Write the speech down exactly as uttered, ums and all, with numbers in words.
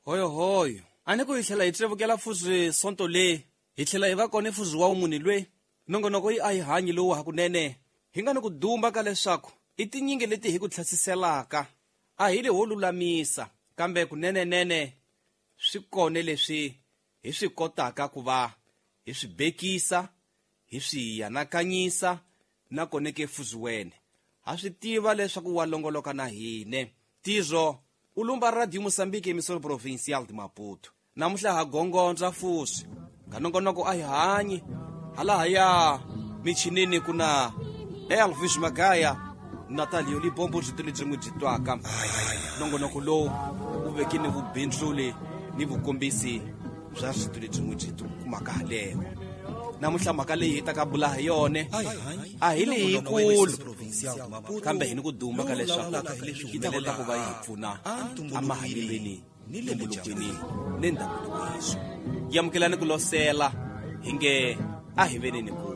Hoyohoyo a ni ku hi tlhela hi tsevukela fuzi sonto le hi tlhela hi va kona fuzi wa munhu lwe nongonoko yi a hi hanyi lowu hakunene hi nga ni ku dumba ka leswaku i tinyingi leti hi ku tlhasiselaka a hi le ho lulamisa kambe kunenenene swi kone leswi hi swi kotaka ku va hi swi bekisa hi swi anakanyisa na kone ke fuzi wene ha swi tiva leswaku wa longoloka na hine tizo u lumba Radio Moçambique emissora provincial de Maputo namuhla ha gongondza fusi ka nongonoko a hi hanyi halahaya michinini ku na Elvis Magaya Natalio Libombo byi lebyi n'wi byi twaka nongonoko lowu wu vekile vubindzuli ni vukombisi bya rito lebyi n'wi byi kumaka haleno namuntlha mhaka leyi hi taka bula hi yone a hi leyikulu kambe hi ni ku duma ka leswaku yi ta kota ku va yi hi pfuna emahanyelweni ntumbulukweni ni ndhavuko wethu yamukelani ku losela hi nge a hi veneni ku